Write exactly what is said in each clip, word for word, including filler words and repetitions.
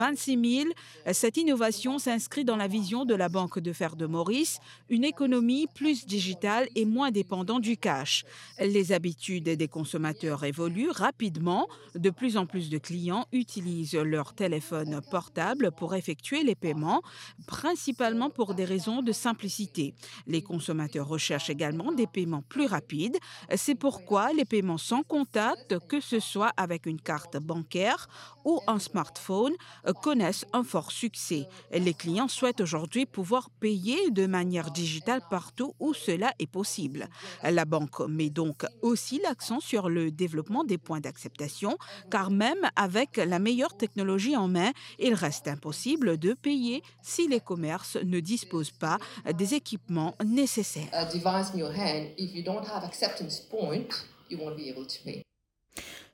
vingt-six mille. Cette innovation s'inscrit dans la vision de la Banque de fer de Maurice, une économie plus digitale et moins dépendante du cash. Les habitudes des consommateurs évoluent rapidement. De plus en plus de clients utilisent leur téléphone portable pour effectuer les paiements, principalement pour des raisons de simplicité. Les consommateurs recherchent également des paiements plus rapides. C'est pourquoi les paiements sans contact, que ce soit avec une carte bancaire ou un smartphone, connaissent un fort succès. Les clients souhaitent aujourd'hui pouvoir payer de manière digitale partout où cela est possible. La banque met donc aussi l'accent sur le développement des points d'acceptation, car même avec la meilleure technologie en main, il reste impossible de payer si les commerces ne disposent pas des équipements nécessaires. A device in your hand, if you don't have acceptance point, you won't be able to pay.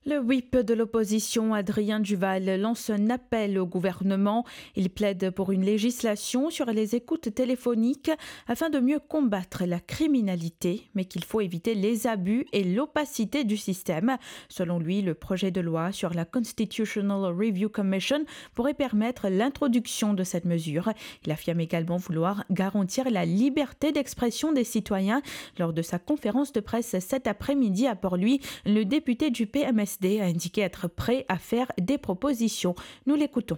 Le whip de l'opposition, Adrien Duval, lance un appel au gouvernement. Il plaide pour une législation sur les écoutes téléphoniques afin de mieux combattre la criminalité, mais qu'il faut éviter les abus et l'opacité du système. Selon lui, le projet de loi sur la Constitutional Review Commission pourrait permettre l'introduction de cette mesure. Il affirme également vouloir garantir la liberté d'expression des citoyens. Lors de sa conférence de presse cet après-midi à Port-Louis, le député du P M S D a indiqué être prêt à faire des propositions. Nous l'écoutons.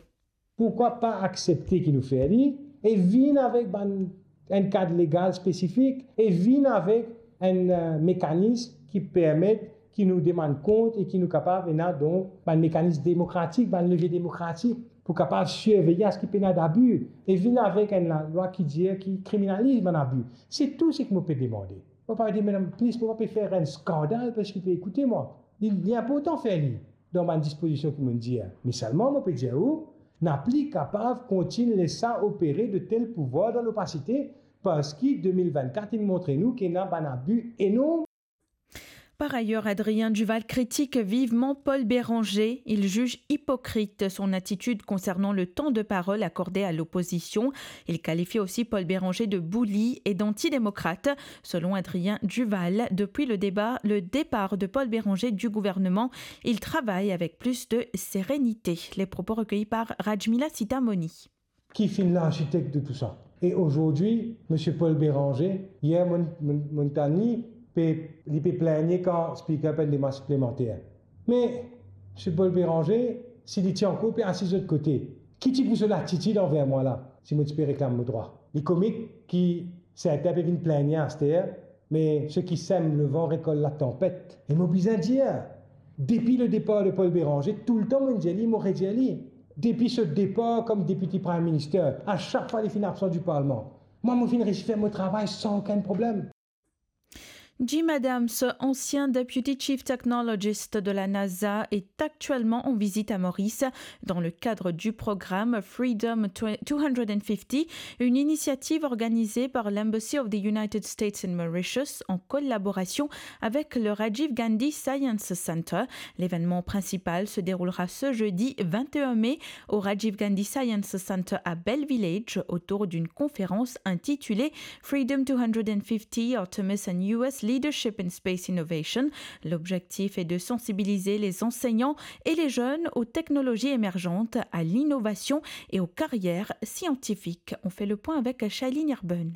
Pourkwa pa aksepte ki nou fer li e vinn avek bann, enn kad legal spesifik e vinn avek enn, eh, mekanism ki permet ki nou demann kont e ki nou kapav ena, donk, bann mekanism demokratik, bann levie demokratik pou kapav sirvey aski pena dabi e vinn avek enn lalwa ki dir ki kriminaliz bann abi. Se tou seki mo pe demande. Mo pa pe demann plis, mo pa pe fer enn skandal parski pe ekoute mwa. Li, li inportan fer li dan bann dispozision ki mo dir. Me selman mo pe dir ou, nou pa kapav kontign les sa opere de tel pouvwar dan lopasite, parski de mil vennkat inn montre nou ki ena bann abi enorm. Par ailleurs, Adrien Duval critique vivement Paul Bérenger. Il juge hypocrite son attitude concernant le temps de parole accordé à l'opposition. Il qualifie aussi Paul Bérenger de bully et d'antidémocrate. Selon Adrien Duval, depuis le débat, le départ de Paul Bérenger du gouvernement, il travaille avec plus de sérénité. Les propos recueillis par Rajmila Sitamoni. Ki finn larsitek de tou sa? E azordi, misie Paul Bérenger, yer mo, mo, mo tann li, pe, li pe plengne kan Speaker pe demann demande siplemanter. Me, misie Paul Bérenger, si li ti ankor pe asiz lot kote, ki ti pou so latitid anver mwa la, si mo ti pe reklam mo drwa? Li komik ki sertin pe vinn plengne aster, me seki sem levan rekolt latanpet. E mo bizin dir, depi le départ de Paul Bérenger, toultan mo dir li, mo redir li, depi so départ comme député Prime Minister, a sak fwa li finn absan di parlman, mwa mo finn resi fer mo travay san okenn problem. Jim Adams, ancien Deputy Chief Technologist de la NASA, est actuellement en visite à Maurice dans le cadre du programme Freedom deux cent cinquante, une initiative organisée par l'Embassy of the United States in Mauritius en collaboration avec le Rajiv Gandhi Science Center. L'événement principal se déroulera ce jeudi vingt et un mai au Rajiv Gandhi Science Center à Bell Village autour d'une conférence intitulée Freedom two hundred fifty, Artemis and U S Leadership in Space Innovation. L'objectif est de sensibiliser les enseignants et les jeunes aux technologies émergentes, à l'innovation et aux carrières scientifiques. On fait le point avec Shailene Erben.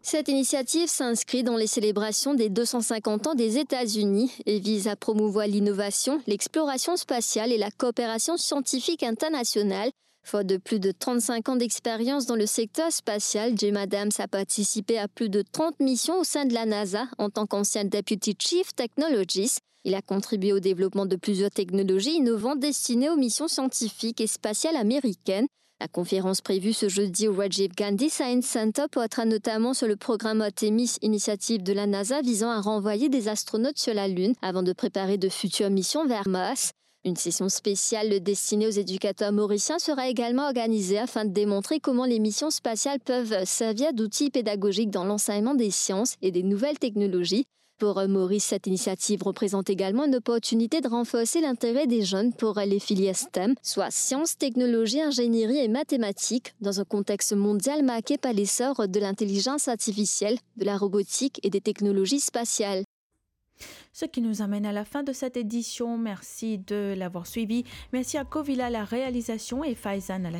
Cette initiative s'inscrit dans les célébrations des deux cent cinquante ans des États-Unis et vise à promouvoir l'innovation, l'exploration spatiale et la coopération scientifique internationale. Fort de plus de trente-cinq ans d'expérience dans le secteur spatial, Jim Adams a participé à plus de trente missions au sein de la NASA en tant qu'ancien Deputy Chief Technologist. Il a contribué au développement de plusieurs technologies innovantes destinées aux missions scientifiques et spatiales américaines. La conférence prévue ce jeudi au Rajiv Gandhi Science Center portera notamment sur le programme Artemis, initiative de la NASA visant à renvoyer des astronautes sur la Lune avant de préparer de futures missions vers Mars. Une session spéciale destinée aux éducateurs mauriciens sera également organisée afin de démontrer comment les missions spatiales peuvent servir d'outils pédagogiques dans l'enseignement des sciences et des nouvelles technologies. Pour Maurice, cette initiative représente également une opportunité de renforcer l'intérêt des jeunes pour les filières STEM, soit sciences, technologies, ingénierie et mathématiques, dans un contexte mondial marqué par l'essor de l'intelligence artificielle, de la robotique et des technologies spatiales. Ce qui nous amène à la fin de cette édition. Merci de l'avoir suivi. Merci à Covila à la réalisation et Faizan à la